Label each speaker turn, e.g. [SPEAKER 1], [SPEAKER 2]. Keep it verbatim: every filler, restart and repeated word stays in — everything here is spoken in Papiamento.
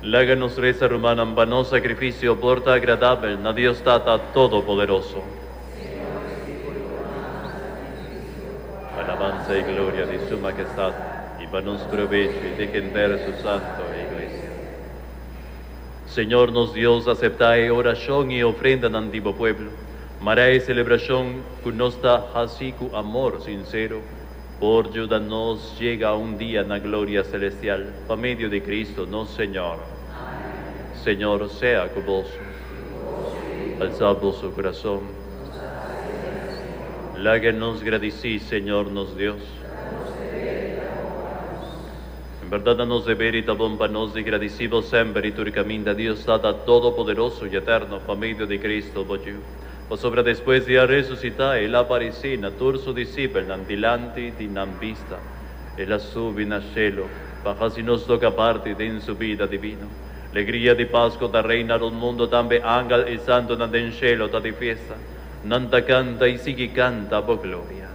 [SPEAKER 1] Laga nos resa, rumannan, pa nos sakrifisio por ta agradabel na Dios Tata Todopoderoso. Alabansa i gloria di Su Mahestat i pa nos probecho i di henter Su Santu Iglesia. Señor nos Dios, aseptá e orashon i ofrendanan di bo pueblo. Mara e selebrashon ku nos ta hasi ku amor sinsero, por yuda nos yega un dia na gloria selestial, pa medio di Kristu nos Señor. Señor sea ku boso. Alsa boso kurason. Laga nos gradisí Señor nos Dios. En berdat nos deber i ta bon pa nos di gradisí Bo semper i tur kaminda, Dios Tata Todopoderoso i Eterno, pa medio di Kristu, bo Yu. Pasobra despues di a resusitá, El a aparesé na tur su disipelnan dilanti di nan bista. El a subi na shelu, pa hasi nos toka parti den su bida divino. Alegria di Pasku ta reina rònt mundu, tambe angel i santunan den shelu ta di fiesta. Nan ta kanta i sigui kanta bo gloria.